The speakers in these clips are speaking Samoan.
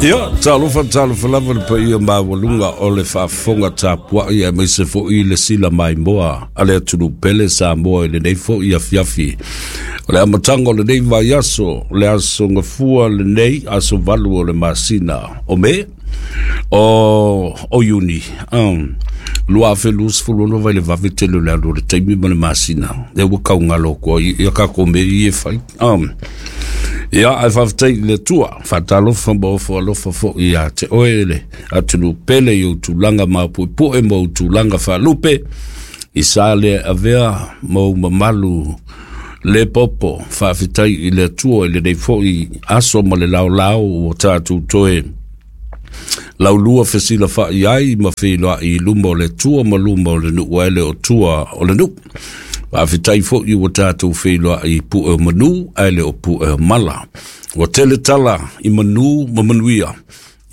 Ia, talofa talofa lava le paia maualuga o le faafofoga tapuai aemaise foi le sila maimoa a le atunuu pele Samoa i lenei foi afiafi. O le amataga o lenei vaiaso, le aso Gafua lenei, aso 8 o le masina o Me, o Iuni, 2026 vai le vave tele o le alu o le taimi ma le masina. Lea ua kaugalo atu ai ia tatou mea ia e fai. Ia, ae faafetai i le Atua, faatalofa ma ofo alofa foi ia te oe le atunuu pele i ou tulaga mapuepue ma ou tulaga faalupe, i sa le avea ma ou mamalu le popo. Faafetai i le Atua i lenei foi aso ma le laolao ua tatou toe laulua fesilafai ai ma feiloai i luma o le Atua ma luma o le nuu ae le o tua o le nuu. Faafetai foi ua tatou feiloai i pue o manu ae le o pue o mala. Ua tele tala i manu ma manuia,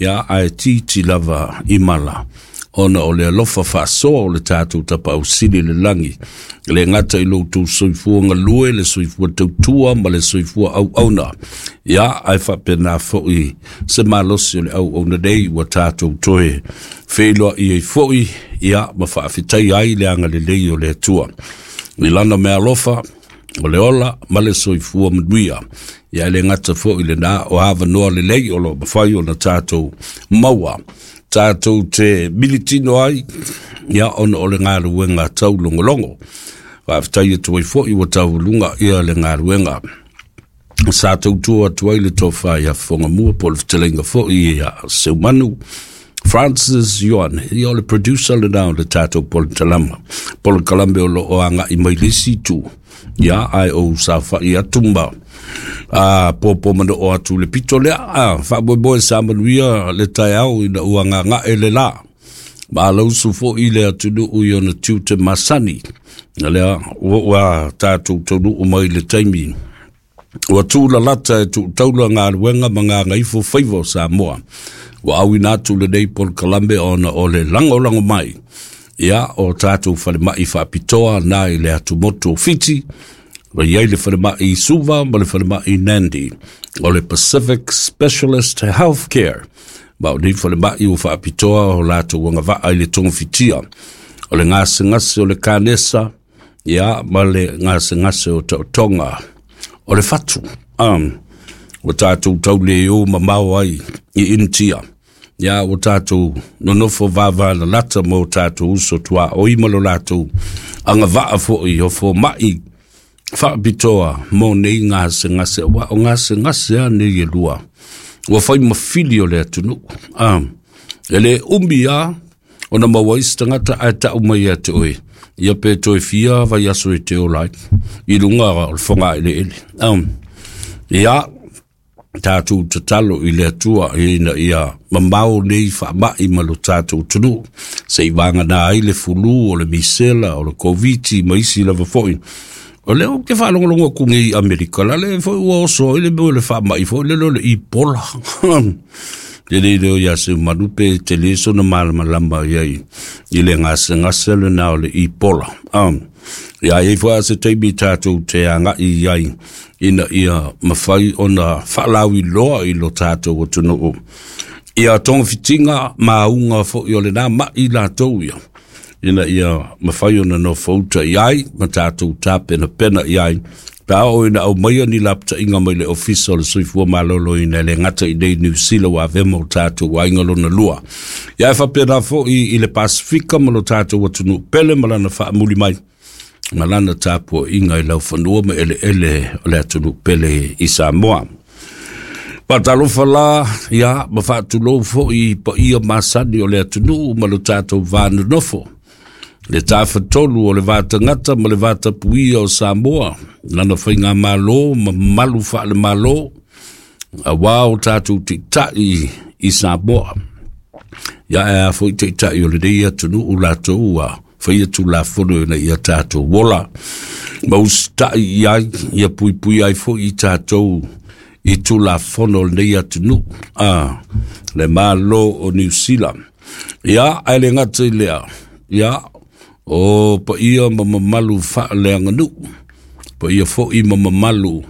ia ae titi lava i mala, ona o le alofa faasoa o le tatou Tapaau Sili i le lagi. E le gata i lo outou soifua galue, le soifua tautua ma le soifua auauna, ia ae faapena foi se malosi o le auauna nei ua tatou toe feiloai ai foi, ia ma faafetai ai le agalelei o le Atua i lana meaalofa o le ola ma le soifua manuia. Ia e le gata foi lena o avanoa lelei o lo o mafai ona tatou maua, tatou te militino ai, ia ona o le galuega taulogologo. Faafetai atu ai foi ua taualuga ia le galuega sa tautua atu ai le tofa ia Fofogamua po o le fetalaiga foi ia Seumanu Francis Ioane, ia o le producer lena o le tatou polokalame o lo o agai mai le isi itu, ia ae ou saofai atu ma popo manoo atu le pito lea. Faamoemoe sa manuia le taeao ina ua gagae le la. Malausu foi le atunuu i ona tiute masani. Lea ua tatou taunuu mai le taimi ua tūlalata e tuutaula galuega ma gagaifo faiva o Samoa. Ua auina atu lenei polokalame ona o le lagolago mai, ia o tatou falemai faapitoa na i le atumotu o Fiti, ua i ai le falemai Suva ma le falemai Nandi, o le Pacific Specialist Healthcare. Ma o nei falemai ua faapitoa o latou agavaa i le togafitia o le gasegase o le kanesa, ia ma le gasegase o taotoga o le fatu. Ua tatou taule o mamao ai i Initia, ia ua tatou nonofo vavalalata ma o tatou uso tuaoi ma lo latou agavaa foi o fomai faapitoa mo nei gasegase, ua o gasegase a nei e lua ua fai mafili o le atunuu. E le umi a ona maua ai se tagata ae tau mai ia te oe, ia pe toe fia vaiaso e te ola ai i luga o le fogaeleele. Ia tatou tatalo i le Atua ina ia mamao nei faamai ma lo tatou atunuu, se i vagana ai le fulu o le misela o le Koviti ma isi lava foi. O lea ou te faalogologo atu nei i Amerika, la le foi ua oso ai le mea o le faamai foi lele o le Ebola. Te le leo ia se manu pe te le sona malamalama iai i le gasegase lena o le Ebola. Ia iai foi a se taimi tatou te agai iai ina ia mafai ona faalauiloa i lo tatou atunuu ia togafitiga ma auga foi o lena mai latou ia, ina ia mafai ona nofouta i ai ma tatou tapenapena i ai pe a oo ina aumaia ni lapataiga mai le Ofisa o le Soifua Maloloina, e le gata i nei Niu Sila ua avea ma o tatou aiga lona lua. Ia e faapena foi i le Pasifika ma lo tatou atunuu pele ma lana faamuli mai ma lana tapuaiga i laufanua ma eleele o le atunuu pele i Samoa. Faatalofa la, ia, ma faatulou foi i paia masani o le atunuu ma lo tatou vanonofo. Le tafatolu o le vatagata ma le vatapuia o Samoa, lana faigamalo ma mamalu faalemalo, auā o tatou taitai i Samoa. Ia e a foi taitai o lenei atunuu latou ua faia tulafono ina ia tatou ola ma usitai i ai, ia puipui ai foi i tatou i tulafono o lenei atunuu, le Malo o Niu Sila. Ia, ae le gata i lea, ia, o paia ma mamalu faaleaganuu, paia foi ma mamalu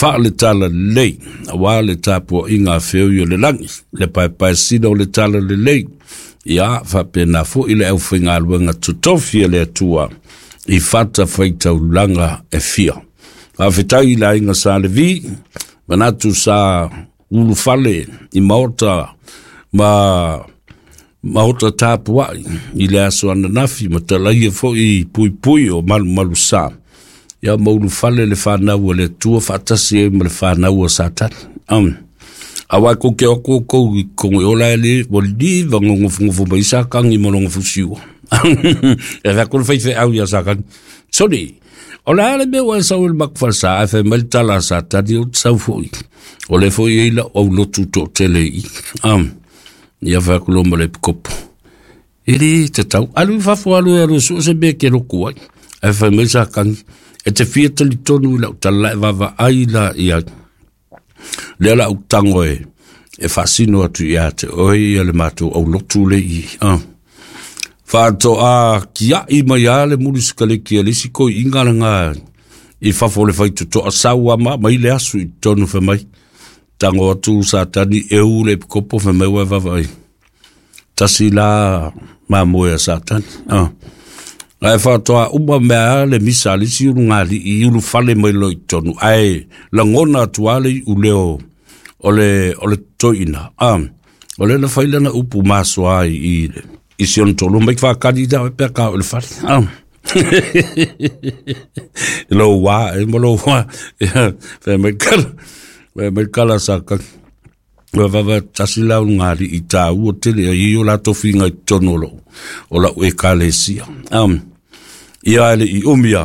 Faale-Talalelei, auā le tapuaiga a feoi o le lagi, le paepaesina o le Talalelei, ia faapena foi le aufaigaluega totofi a le Atua i fatafaitaulaga e fia. Faafetai i le aiga Sa Levi, manatu sa ulufale i maota ma maota tapuai i le aso ananafi ma talaia foi i puipui o malumalusa. Ia ma ulufale le fanau a le Atua faatasi ai ma le fanau a Satani. Aua kou ke oko kou i kongo ola e le ua liva ngongofongofo mai sa kangi ma longa fusiua. E fai kona fai au ia sa kangi. Soni, o le ale mea ua e sau i le makufalesa, ae fai mai le tala a Satani o te sau foi. O le foi e ila au lotu to tele i. Ia fai aku lo ma le pikopo. E le tatau. Alu i fafo alu e alu e sua se mea ke loku ai. Ae fai mai sa kangi. E te fia talitonu i lau tala e vava ai la ia. Lea la au tango e faasino atu ia te oe ia le matou aulotu le i. Faatoa kiai mai a le muli sikaleki a le isi koi'iga laga i fafo o le faitotoa sau ama mai le aso i totonu fai mai. Tango atu Satani e u le epikopo fai mai ua e vavaai. Tasi la mamoe a Satani. Ae faatoa uma mea a le misa a le isi ulugalii i ulufale mai loa i totonu, ae lagona atu lava le iu leo o le toeaina. O lea na fai lana upu masoa ai i si ona toalua mai faakali ia oe pe a ka oo i le fale. Lou wā, e ma lou wā. Fai mai kala, fai mai kala sa kaki. Ua vava tasi la ulugalii i tāua tele ai i o latou figa i totonu o lou, o lau ekalesia. Ia e le i umi a,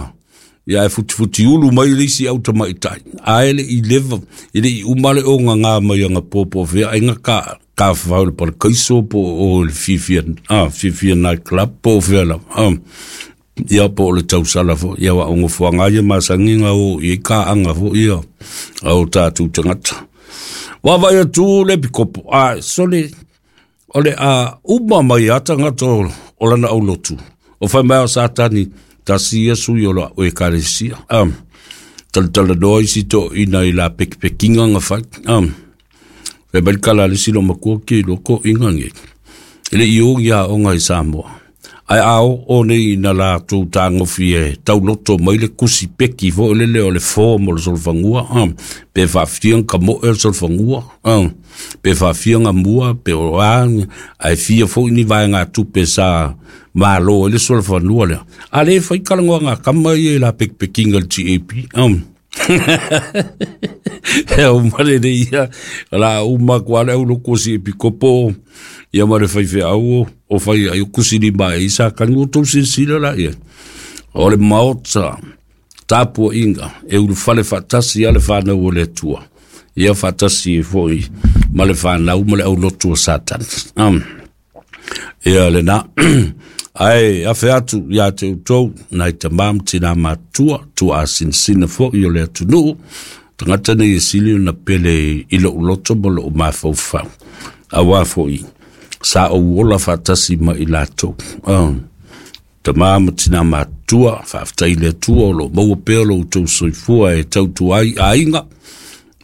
ia e futifuti ulu mai le isi au tamaitai. Ae le i leva, e le i uma le ogaga mai aga popo fea aiga ka, ka whau le palakaiso po o le fiafia, fiafia night club po o fea lava. Ia po o le tausala foi, ia wa o ngofoanga ia masagiga o i ka anga foi ia au tātou tagata. Vaavaai atu le pikopo, a sole, o le a uma mai a tagata o lana aulotu. O fai mai o Satani, tasi ia sui o la o ekalesia. Talatala noa isi toeaiina i la pekipekiga na fai. Fai mai le tala a le isi loomatua ke iloa toeaiina nei. E le i o ni aoga i Samoa. Ae a oo nei ina latou tagofi e tauloto mai le kusi peki foi lele o le form o le solofanua, pe faafia ona tamoe o le solofanua, pe faafia ona mua, pe o a, ae fia foi ni vaegatupe sa malo ai le solofanua lea. A le fai talanoaga a tama ia i la pekipekiga i le GAP. E au male le ia, la uma atu lava le aulotu o si epikopo ia ma le faifeau o fai ai o kusi lima e isa kani ua tou silasila la ia. O le maota tapuaiga e ulufale faatasi a le fanau o le Atua. Ia faatasi ai foi ma le fanau ma le aulotu o Satani. Ia lena. Ae afe atu ia te outou, nai tamā ma tinā matutua, tuaasinasina foi o le atunuu, tagata nei e sili ona pele i lou loto ma lou mafaufau. Auā foi, sa ou ola faatasi ma i latou. Tamā ma tinā matutua, faafetai i le Atua o lo o maua pea lo outou soifua e tautua ai aiga,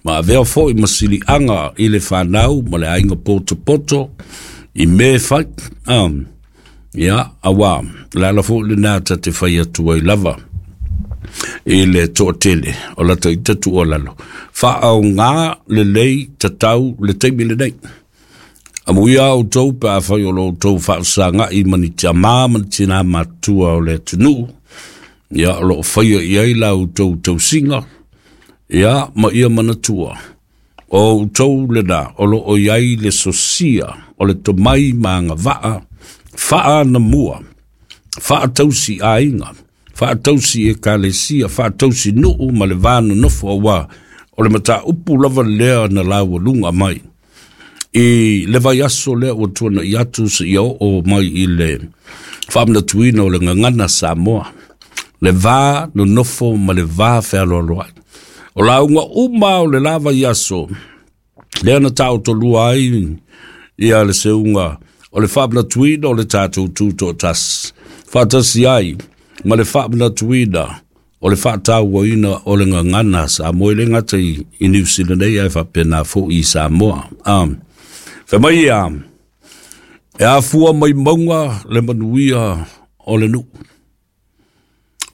ma avea foi ma siliaga i le fanau ma le aiga potopoto i mea e fai. Ia, auā, o le ala foi lena ta te fai atu ai lava i le toatele o lata ita tuualalo. Faaaoga lelei tatau le taimi lenei. Amuia outou pe afai o lo outou faafesagai ma ni tamā ma ni tinā matutua o le atunuu, ia o lo o faia i ai la outou tausiga, ia ma ia manatua, o outou lena o lo o i ai le sosia o le tomai ma agavaa faaanamua, faatausi aiga, faatausi ekalesia, faatausi nuu ma le va nonofo, auā o le mataupu lava lea na laualuga mai i le vaiaso lea ua tuana'i atu seia oo mai i le faamanatuina o le gagana Samoa, le va nonofo ma le va fealoaloai. O lauga uma o le la vaiaso lea na taotolua ai ia le seuga o le faamanatuina o le tatou tutoatasi, faatasi ai ma le faamanatuina o le faatauaina o le gagana a Samoa, e le gata i Niu Sila nei ae faapena foi i Samoa. Fai mai ia, e afua mai mauga le manuia o le nuu,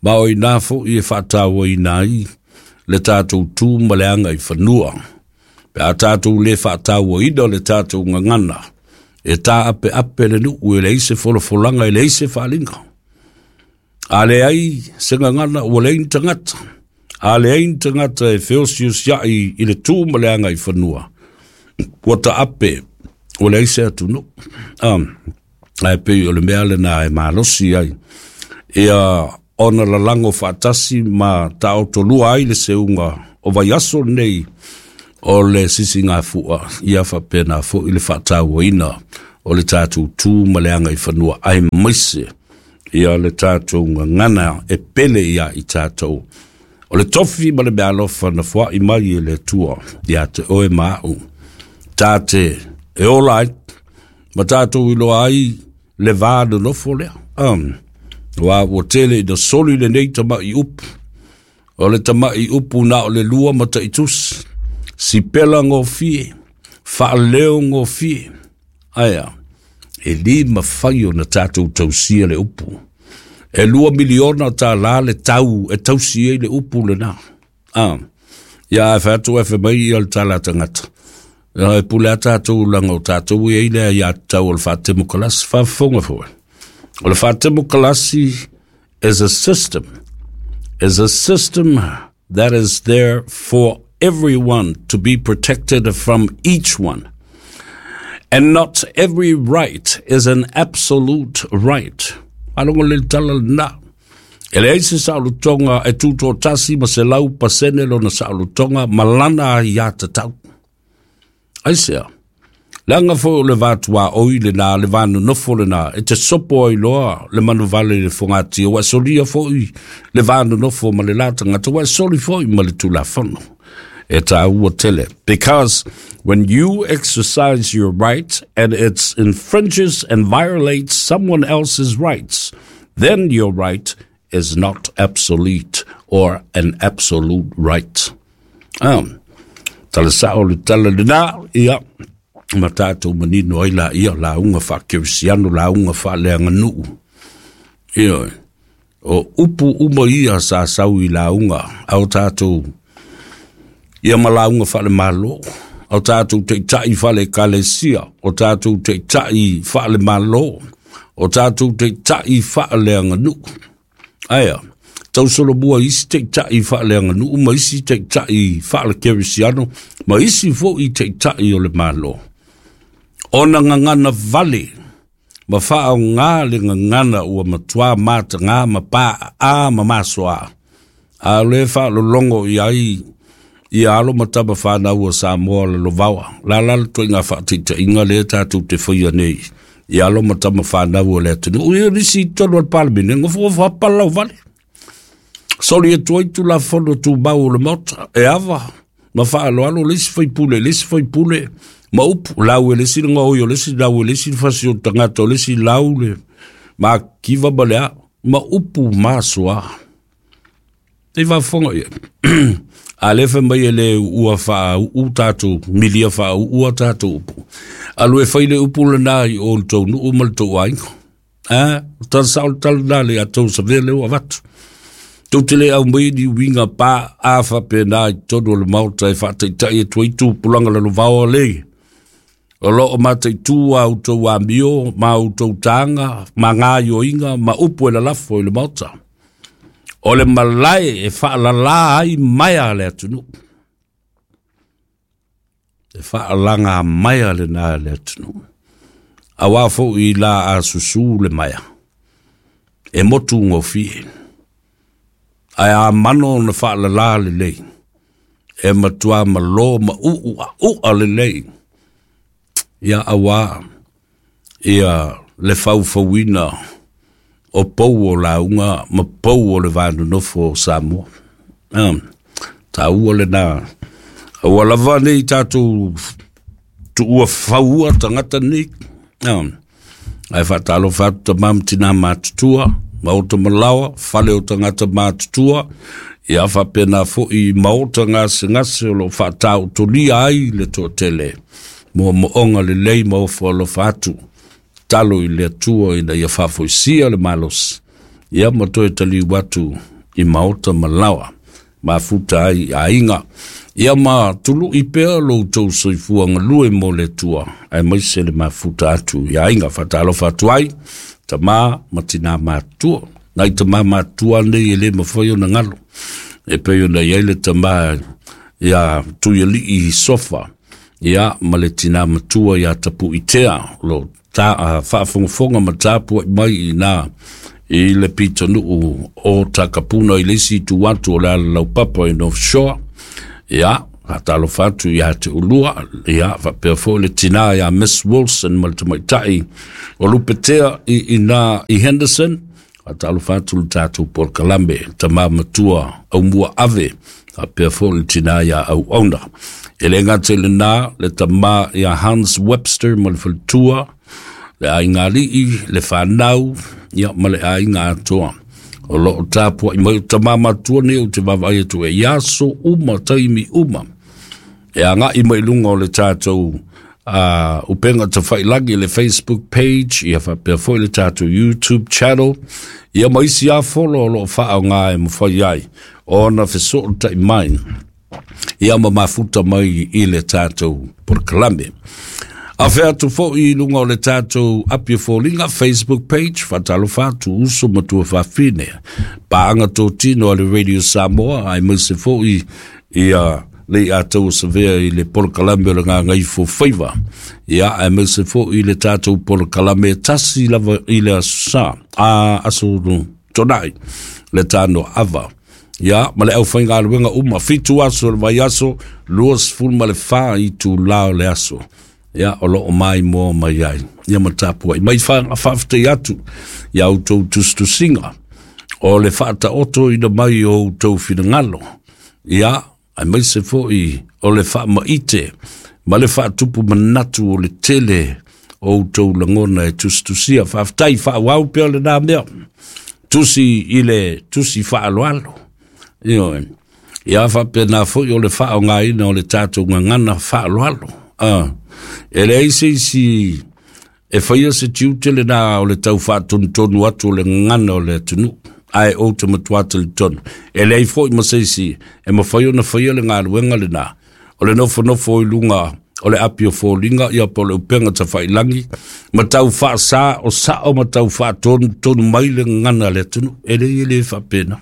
ma o ina foi e faatauaina ai le tatou tu ma le aga i fanua. Pe a tatou le faatauaina le tatou gagana, e taapeape le nuu, e leai se folafolaga, e leai se faaaliga. A leai se gagana, ua leai ni tagata. A leai ni tagata e feosiosiai i le tu ma le aga i fanua, ua taape, ua leai se atunuu. Ae pei o le mea lena e malosi ai ia ona lalago faatasi ma taotolua ai le seuga o vaiaso lenei o le sisigafua, ia faapena foi le faatauaina o le tatou tu ma le aga i fanua, aemaise ia le tatou gagana e pele ia i tatou. O le tofi ma le meaalofa na foai mai e le Atua ia te oe ma au, ta te e ola ai ma tatou iloa ai le va nonofo lea. Ua ua tele ina soli lenei tama'i upu. O le tama'i upu na o le lua ma taitusi, sipela gofie, faaleo gofie. Aia, e lī mafai ona tatou tausia le upu. E $2 miliona tā le tau e tausi ai le upu lena. Ia ae fai atu e fai mai ia le tala tagata. E pule a tatou laga o tatou e ai le aiatatau o le faatemokalasi. Faafofoga foi. O le faatemokalasi is a system. Is a system that is there for everyone to be protected from each one. And not every right is an absolute right. Faalogo le tala lena. E leai se saolotoga e tutoatasi ma 100% lona saolotoga ma lana aiatatau. Aisea? Leaga foi o le vatuaoi lena, le va nonofo lena, e te sopo ai loa le manuvale i le fogatia, ua e solia foi le va nonofo ma le la tagata, ua e soli foi ma le Tulafono. E tāua tele. Because when you exercise your right and it infringes and violates someone else's rights, then your right is not absolute or an absolute right. Tala sao le tala lena, ia, ma tatou manino ai la ia lauga faakerisiano, lauga faaleaganuu. Ia, o upu uma ia sa sau i lauga, au tatou, ia ma lauga faalemalo, o tatou taitai faale-ekalesia, o tatou taitai faalemalo, o tatou taitai faaleaganuu. Aia, tausolomua isi taitai faaleaganuu ma isi taitai faalekerisiano, ma isi foi taitai o le Malo. Ona gagana vale, ma faaaogā le gagana ua matuā matagā ma paaa ma masoa. A o le faalologo i ai ia alo ma tama whanau o Samoa lalovaoa. La la le toiga faataitaiga lea tatou te faia nei. Ia alo ma tama whanau o le atunuu. Ia nisi i tonu o le Palemene, gofogofo hapa lau vale. Soli atu ai Tulafono Tumau o le Maota. E ava ma faaloalo le isi faipule, le isi faipule, ma upu, lau e le isi le gaoi o le isi, lau e le isi le fasi o le tagata o le isi, lau le makiva ma le a, ma upu masoa. Te faafofoga ia. A le fai mai e le ua faauu tatou, milia faauua tatou upu. Alu e fai le upu lena i o le tou nuu ma le tou aiga. A, tala sao le tala lena le a tou savea le ua avatu. Tou te le aumai ni uiga pa a faapena i totonu o le Maota e faataitai atu ai tupulaga lalovaoa le. O loo mataitū a outou amio ma outou taga ma gaioiga ma upu e lalafo i le Maota. O le malae e faalalā ai maea le atunuu. E faalaga maea lena le atunuu. Auā foi la a susū le maea. E motu gofie. Ae a mano ona faalalā lelei. E matuā malo ma uu a ua lelei. Ia auā ia le faufauina o pou o lauga ma pou o le va nonofo o Samoa. Tāua lena. Aua lava nei tatou tuua faua tagata nei. Ae faatalofa atu tamā ma tinā matutua. Maota malaoa, fale o tagata matutua, ia faapena foi i maota gasegase o lo o faataotolia ai le toatele moomooga lelei ma ofo alofa atu. Talo i le Atua ina ia faafoisia le malosi, ia ma toe taliu atu i maota malaoa, mafuta ai i aiga. Ia ma tului pea lo outou soifua galue mo le Atua, aemaise le mafuta atu i aiga. Faatalofa atu ai, tama ma tina matutua. Nai tama matutua nei e le mafai ona galo. E pei ona i ai le tama ia Tuialii Sofa, ia ma le tina matua ia Tapuitea, o lo ta faafogafoga ma tapuai mai i na i le pitonuu o Takapuna i le isi itu atu o le alalaupapa i North Shore. Ia, faatalofa atu ia te ulua, ia faapea foi le tina ia Miss Wilson ma le tamaitai o Lupetea i ina i Henderson. Faatalofa atu le tatou polokalame, tama matua Aumua Ave, faapea foi le tina ia Auauna. E le gata i lena, le tama ia Hans Webster ma le faletua, le aiga alii, le fanau, ia ma le aiga atoa. O lo o tapuai mai o tama matua nei ou te vaavaai atu e i aso uma, taimi uma. E agai mai luga o le tatou upega tafailagi le Facebook page, ia faapea foi le tatou YouTube channel, ia ma isi lava folo o lo o faaaoga e mafai ai ona fesootai mai, ia ma mafuta mai i le tatou polokalame. Afe atu foi i luga o le tatou Apia Foliga Facebook page, faatalofa atu uso ma tuafafine, paaga totino a le Radio Samoa, aemaise foi ia le ia tau savea i le polokalame o le Gagaifo Faiva, ia aemaise foi i le tatou polokalame tasi lava i le aso sa, a aso tonai, le tano ava. Ia, ma le aufaigaluega uma, 7 aso o le vaiaso, 24 itula o le aso. Ia, o lo o maimoa mai ai. Ia ma tapuai. Mai faafetai atu ia outou tusitusiga o le faataotoina mai o outou finagalo. Ia, aemaise foi o le faamaite ma le faatupu manatu o le tele o outou lagona e tusitusia. Faafetai, faaauau pea lena mea. Tusi i le tusi faaaloalo. Ioe. Ia faapena foi o le faaaogaina o le tatou gagana faaaloalo. E leai se isi e faia se tiute lena o le tau faatonutonu atu o le gagana o le atunuu. Ae ou te matua talitonu. E leai foi ma se isi e mafai ona faia le galuega lena. O le nofonofo i luga o le api o foliga, ia po o le upega tafailagi, ma tau faasa o sao ma tau faatonutonu mai le gagana a le atunuu. E leai e le faapena.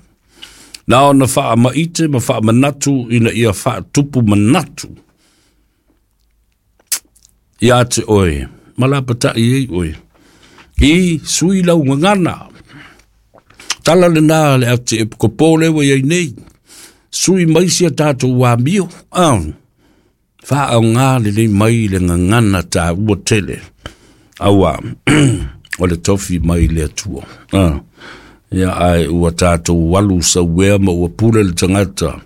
Na ona faamaite ma faamanatu ina ia faatupu manatu ia te oe, ma lapatai ai oe. I sui lau gagana. Tala lena le ate e kopo le ua iai nei. Sui mai sia tatou amio. Faaaoga lelei mai le gagana taua tele. Aua, o le tofi mai le Atua. Ia ae ua tatou alu sauea ma ua pule le tagata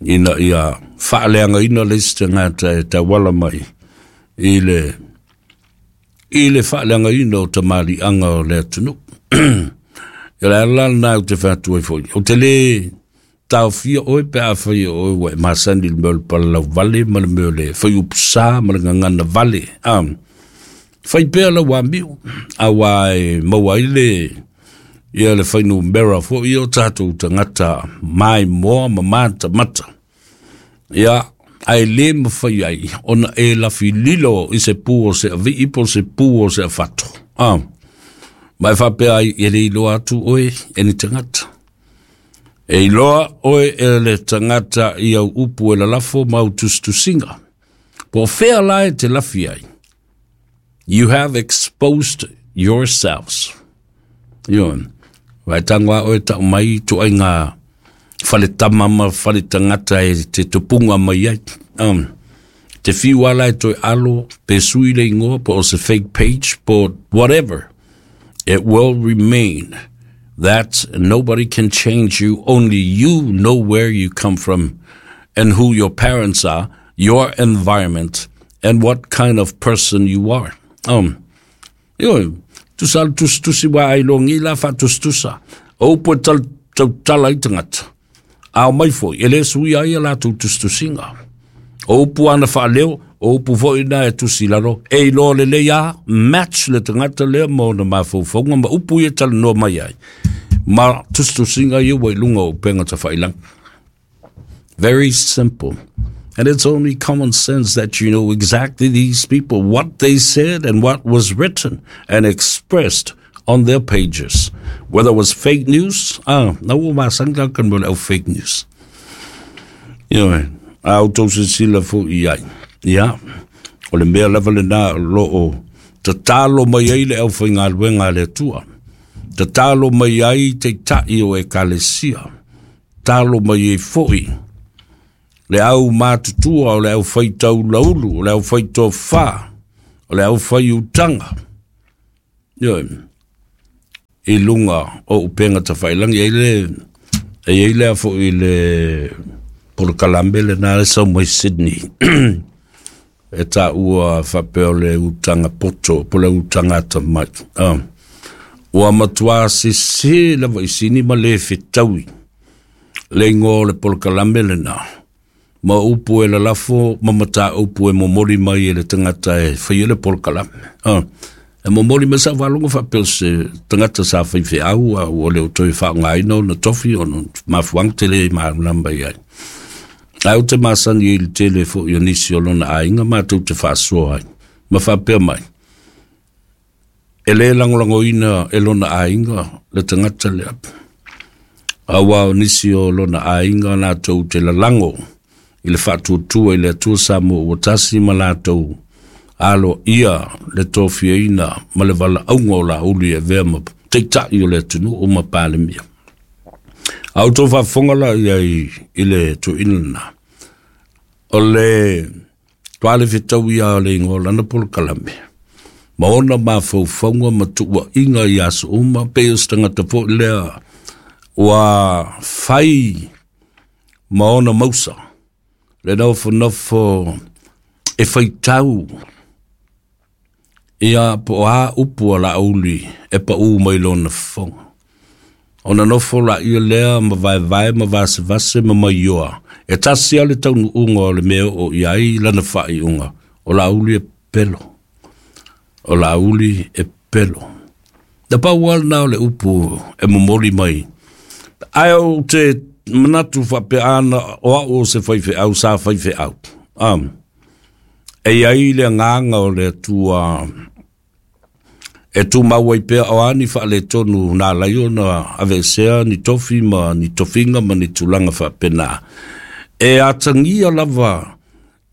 ina ia faaleagaina le isi tagata e tauala mai i le faaleagaina o tamaliiaga o le atunuu. Ia le ala lena ou te fai atu ai foi. Ou te le taofia oe pe a fai oe ua e masani i le mea o le palalau vale ma le mea o le faiupusa ma le gagana vale. Fai pea lau amio, aua e maua ai le ia le fuainumera foi o tatou tagata maimoa ma matamata. Ia, ae le mafai ai ona e lafililo i se pu o se avii po o se pu o se afato. Ma e faapea ai, e le iloa atu oe e ni tagata. E iloa oe e le tagata i au upu e lalafo ma au tusitusiga. Po o fea la e te lafi ai. You have exposed yourselves. Ioe. Vai tango a oe tau mai tuaiga faletama ma faletagata e te tupunga mai ai. Te fiu ala e toe alo, pe sui le ingoa, po o se fake page, po whatever. It will remain that nobody can change you. Only you know where you come from and who your parents are, your environment, and what kind of person you are. Ioe, Tusa le tusitusi ua ailogi la faatusatusa. O upu e tautala ai tagata, a omai foi, e lē suia ai a latou tusitusiga. O upu ana faaleo, o upu foi na e tusi lalo, e iloa lelei a match le tagata lea ma ona mafaufauga ma upu ia talanoa mai ai ma tusitusiga ia ua i luga o upega tafailagi. Very simple. And it's only common sense that you know exactly these people, what they said and what was written and expressed on their pages. Whether it was fake news, na ua masani ka kan mo le au fake news. Ioe, a outou silasila foi i ai. Ia, o le mea lava lena o lo o tatalo mai ai le aufaigaluega a le Atua. Tatalo mai ai taitai o ekalesia. Talo mai ai foi le au matutua, o le au faitaulaulu, o le au faitofa, o le au faiutaga. Ioe, i luga o upega tafailagi. E le e i ai lea foi le polokalame lena le sau mai Sydney e taua faapea o le utaga poto po o le utaga atamai. Ua matua sese lava i sini ma le fetaui le igoa o le polokalame lena ma upu e lalafo ma mataupu e momoli mai e le tagata e faia le polokalame. E momoli mai sa faalogo faapea o se tagata sa faifeau a ua le o toe faaaogaina ona tofi ona mafuaaga tele e malamalama i ai. Ae ou te masani ai i le tele foi o nisi o lona aiga matou te faasoa ai ma faapea mai, e lē lagolagoina e lona aiga le tagata lea, auā o nisi o lona aiga latou te lalago i le faatuatua i le Atua Samoa ua tasi ma latou aloaia le tofiaina ma le valaauga o Laauli e avea ma taitai o le atunuu ma Palemia. A outou faafofoga la i ai i le toeaina lena, o le toa le fetau ia o le igoa o lana polokalame ma ona mafaufauga ma tuuaiga i aso uma, pei o se tagata foi lea ua fai ma ona mausa le nofonofo e faitau ia po o a upu a Laauli e paū mai lona fofoga. Ona nofo laia lea ma vaevae ma vasevase ma maioa, e tasi lava le taunuuga o le mea o oo i ai lana faaiuga, o Laauli e pelo. O Laauli e pelo. Na pau lava lena o le upu e momoli mai. Ae ou te manatu faapea ana o au o se faifeau sa faifeau. E i ai le agaga o le Atua e tumau ai pea o a ni faaletonu na ala ai ona aveesea ni tofi ma ni tofiga ma ni tulaga faapena. E atagia lava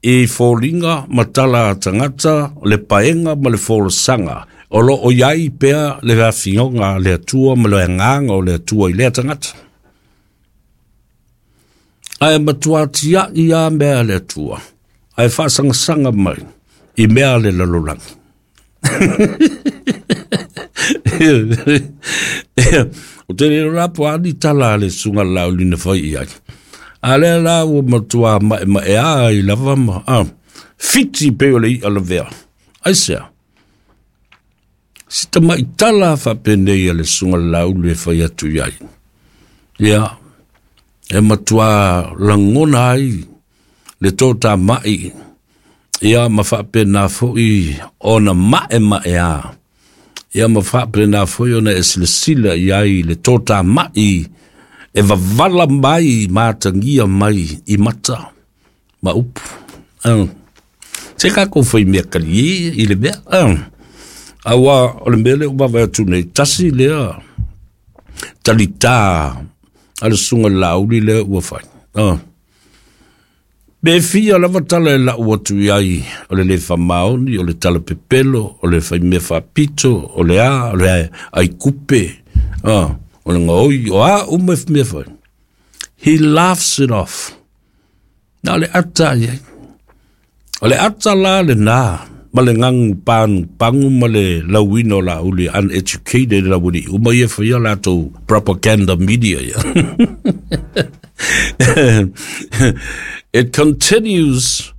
i foliga ma tala a tagata le paega ma le folasaga o lo o i ai pea le afioga a le Atua ma le agaga o le Atua i lea tagata. Ae matua tiai lava mea a le Atua, ae faasagasagamai i mea a le lalolagi. O te le la po ani tala a le susuga Laauli na fai i ai. A lea la ua matua maemaea ai lava ma fiti pei o le i'a lavea. Aisea? Si tamaitala faapenei a le susuga Laauli e fai atu i ai. Ia, e matua lagona ai le totamai, ia ma faapena foi ona maemaea, ia ma faapena foi ona e silasila i ai le totamai e vavala mai ma atagia mai i mata ma upu. Se tatou faimea kalie i le mea. Aua o le mea lea ua vaavaai atu nei, tasi lea talitā a le susuga i le Laauli lea ua fai. Pe fia lava tala e lau atu i ai o le le faamaoni, o le tala pepelo, o le faimea faapito, o le a, o le aikupe, o le gaoi, o a uma e mea fai. He laughs it off. Na o le ata i ai. O le ata la lena ma le gagu pagupagu ma le lauina o Laauli uneducated le aualii uma ia e faia latou propaganda media ia. It continues,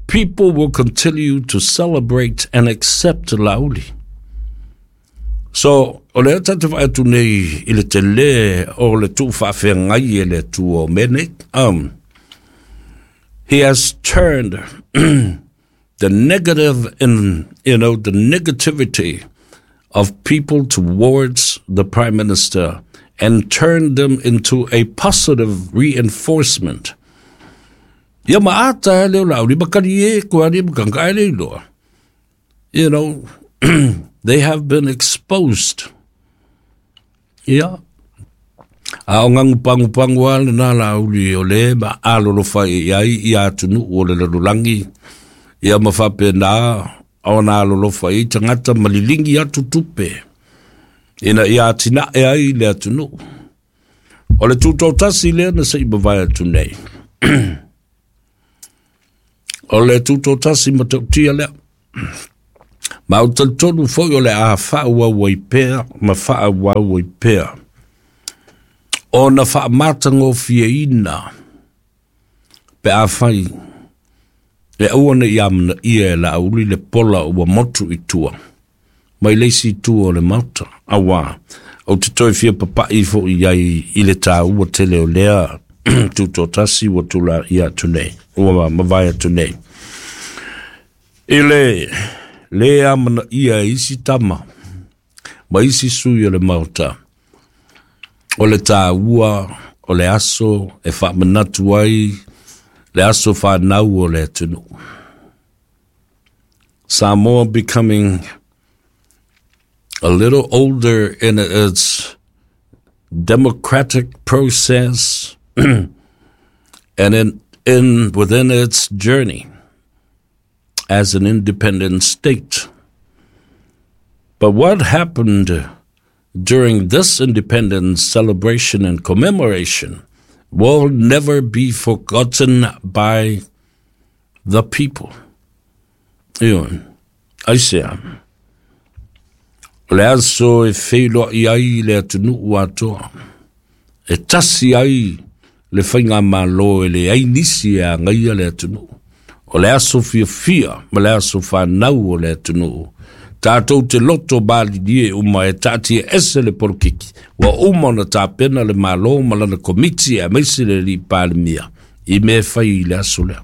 people will continue to celebrate and accept Laauli. So, o lea tatou te vaai atu nei i le tele o le tuufaafeagai e le Atua o mea nei. He has turned the negative in, you know, the negativity of people towards the Prime Minister and turned them into a positive reinforcement. Ia ma ata e leo lau, li makari e, kua li makanga e le iloa. You know, they have been exposed. Ia. A o ngangu pangu pangu a le nā la uli o le ma alolofa i ai i atunuu o le lalolagi. Ia ma faapena ona alolofa i tagata ma lilingi atu tupe. Ina ia atinae ai le atunuu. O le tutotasi lea na se i mavae atu nei. O le tutotasi matautia lea. Ma o talitonu foi o le a faaauau ai pea ma faaauau ai pea. Ona faamatagofieina pe afai e aua ne i amanaia e Laauli le pola ua motu i tua mai le isi itu o le Maota, auā ou te toe fia papa'i fo'i i ai i le tāua tele o lea tutoatasi ua tulaia atu nei, ua mavae atu nei. I le lē amanaia e isi tama ma isi sui o le Maota, o le tāua o le aso e faamanatu ai le aso fanau o le atunuu. Samoa becoming a little older in its democratic process and in, in within its journey as an independent state. But what happened during this independence celebration and commemoration will never be forgotten by the people. Ioe. Aisea? O le aso e feiloai ai le atunuu atoa, e tasi ai le faigamalo e leai nisi e agaia le atunuu. O le aso fiafia ma le aso fanau o le atunuu. Tatou te loto malilie uma e taatia ese le polokiki. Ua uma ona tapena le Malo ma lana komiti aemaise le alii Palemia i mea e fai i le aso lea.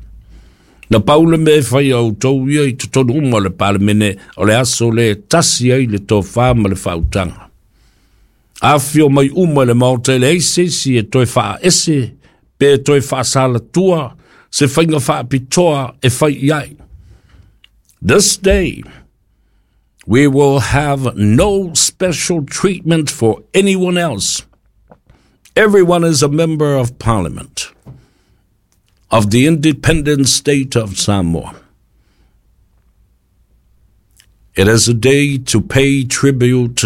Na pau le mea e fai a outou ia i totonu uma o le Palemene, o le aso lea e tasi ai le tofa ma le faautaga. Afifio mai uma i le Maota e leai se isi e toe faaese pe toe faasalatua se faiga faapitoa e fai i ai. This day, we will have no special treatment for anyone else. Everyone is a member of parliament of the independent state of Samoa. It is a day to pay tribute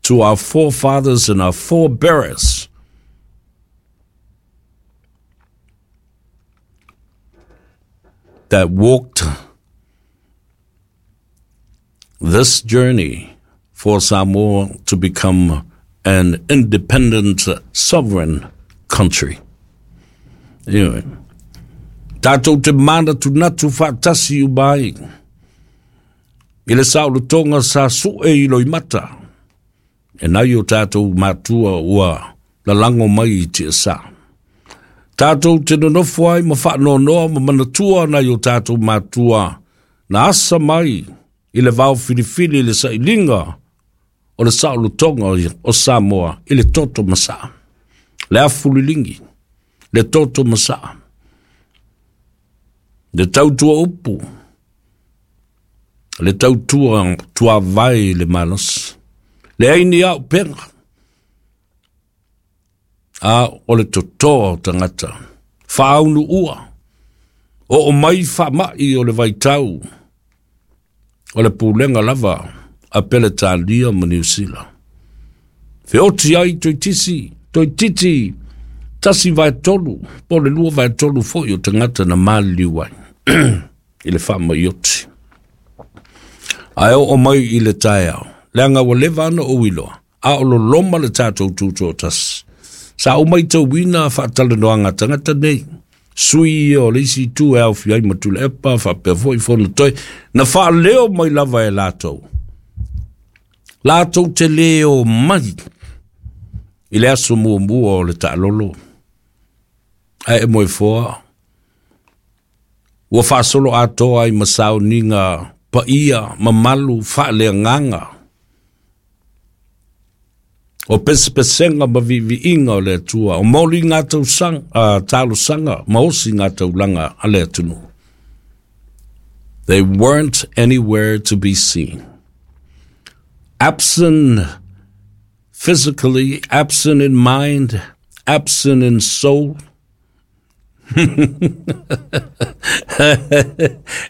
to our forefathers and our forebears that walked this journey for Samoa to become an independent sovereign country. Anyway, tātou te mānatunatu faatasi uma ai i le saolotoga sa sue i loimata e nai o tātou matua ua lalago mai i tiasa. Tātou te nonofo ai ma faanoanoa ma manatua nai o tātou matua na asa mai i le vao filifili i le sailiga o le saolotoga o Samoa i le toto masaa, le afu liligi, le toto masaa, le tautua upu, le tautua tuavae i le malosi, leai ni auupega, a o le totoa o tagata, faaunuua, oo mai faamai o le vaitau, o le pulega lava a Peletania ma Niu Sila. Feoti ai toitisi, toititi, 1/3, po o le 2/3 foi o tagata na maliliu ai i le faamai oti. Ae oo mai i le taeao, leaga ua leva ana ou iloa, a o loloma le tatou tutoatasi. Sa ou maitauina faatalanoaga a tagata nei, sui ia o le isi itu e aofia ai ma Tuilaepa faapea foi Fonotoe, na faaleo mai lava e latou. Latou te lē omai i le aso muamua o le taalolo, ae e moefoa ua faasolo atoa ai ma sauniga paia mamalu faaleagaga o pesepesega ma viiviiga o le Atua, o moliga tausaga, talosaga ma osiga taulaga a le atunuu. They weren't anywhere to be seen. Absent physically, absent in mind, absent in soul.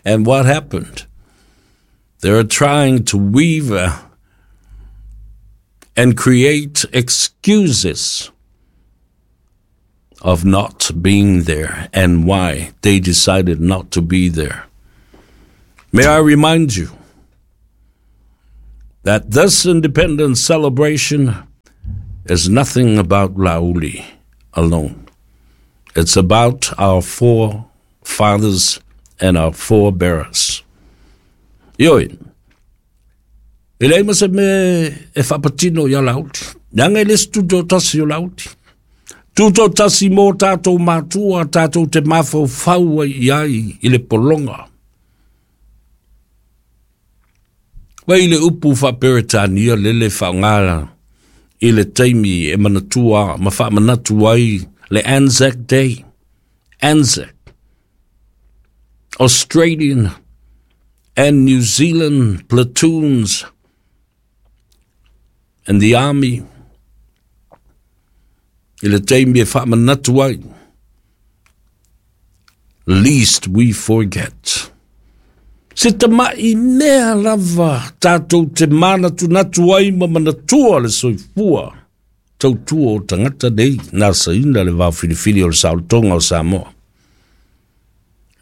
And what happened? They're trying to weave and create excuses of not being there and why they decided not to be there. May I remind you that this independence celebration is nothing about Laauli alone. It's about our forefathers and our forebearers. Ioe, e leai ma se mea e faapatino iā Laauli. Leaga e le se tutoatasi o Laauli. Tutoatasi mo tatou matua, tatou te mafaufau ai i ai i le pologa. Vai le upu faaperetania lele faaaoga i le taimi e manatua ma faamanatu ai le Anzac Day. Anzac, Australian and New Zealand platoons and the army i le taimi e faamanatu ai, least we forget. Se tama'i mea lava tatou te manatunatu ai ma manatua le soifua tautua o tagata nei na asaina le vaofilifili o le saolotoga o Samoa.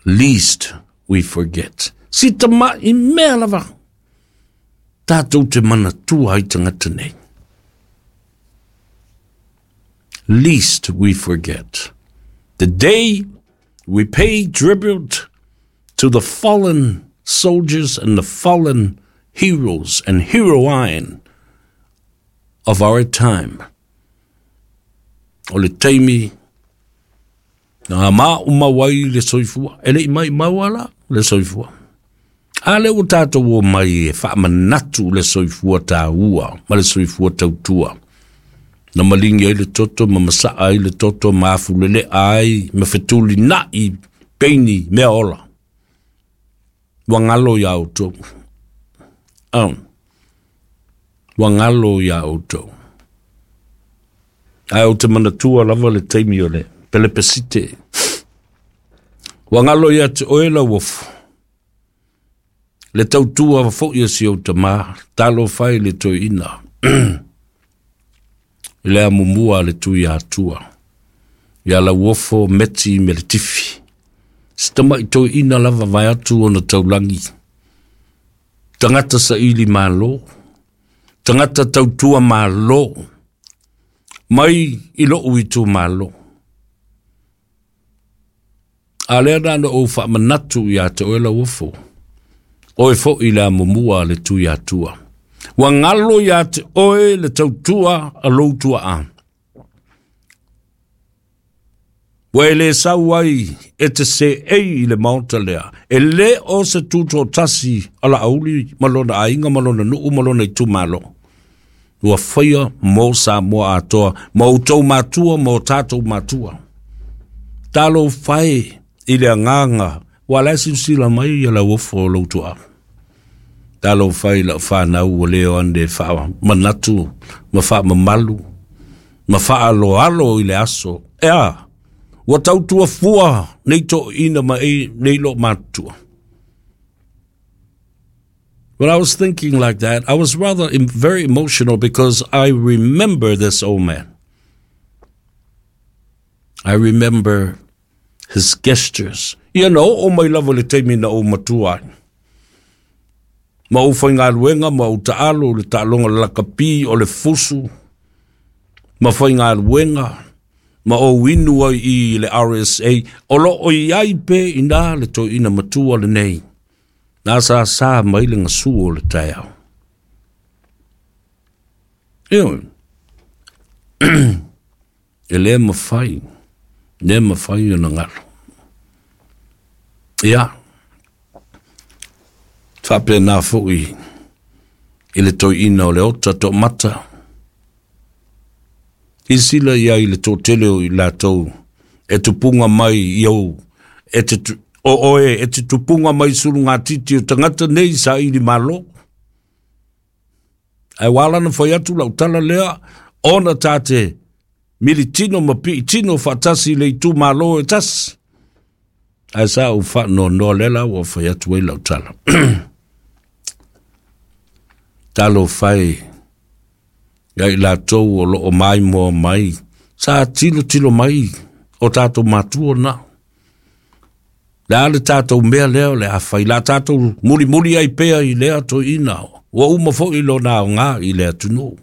Least we forget. Si tama'i mea lava tatou te manatua ai tagata nei. Least we forget. The day we pay tribute to the fallen soldiers and the fallen heroes and heroine of our time. O le taimi na maumau ai le soifua, e le i maumau ala le soifua. A lea ua tatou omai e faamanatu le soifua taua ma le soifua tautua. Na malingi ai le toto ma masaa ai le toto ma afulelea ai ma fetulinai peini mea ola. Ua galo iā outou. Oh. Ua galo iā outou. Ae ou te manatua lava le taimi o le pelepesite. Ua galo ia te oe Lauofo. Le tautua foi a si ou tamā, talofa e le toeaina. I le amomua a le Tuiatua. Ia Lauofo Meti Meletifi. Se tama'i toeaina lava vaeatu ona taulagi. Tagata saili malo. Tagata tautua malo. Mai i lo'u itumalo. A lea na ona ou faamanatu ia te oe Lauofo. Oe foi le amomua a le Tuiatua. Ua galo ia te oe le tautua a lou tuaa. Ua e le sau ai e te seei i le maota lea, e le o se tutoatasi a Laauli ma lona aiga ma lona nuu ma lona itumalo. Ua faia mo Samoa atoa, ma outou matua ma o tatou matua. Talofa e i le agaga, ua la e silasila mai ia Lauofo o lou tuaa. Talofa e i lau fanau ua le o ane faamanatu ma faamamalu ma faaaloalo i le aso. E a, ua tautua fua nei toeaiina ma nei loomatutua. When I was thinking like that, I was rather very emotional because I remember this old man. I remember his gestures. Ia na oo mai lava le taimi na ou matua ai. Ma ou faigaluega ma ou taalo le taaloga lakapi o le fusu ma faigaluega ma ou inu ai i le RSA, o lo o i ai pea i ina le toeaina matua lenei, na asasa mai le gasu o le taeao. Ioe. E le mafai, le mafai ona galo. Ia, faapena foi i le toeaina o Leota Toomata, silasila i ai i le toatele o i latou e tupuga mai i ou, e te, o oe e te tupuga mai sulugatiti o tagata nei saili malo. Ae ua ala ona fai atu lau tala lea, ona ta te militino ma piitino faatasi i le itumalo e tasi. Ae sa ou faanoanoa lea la ua fai atu ai lau tala. Talofa e ia i latou o lo o maimoa mai, sa tilotilo mai o tatou matua na. Le a le tatou mea lea o le a fai, la tatou mulimuli ai pea i lea toeaina, ua uma foi lona aoga i le atunuu.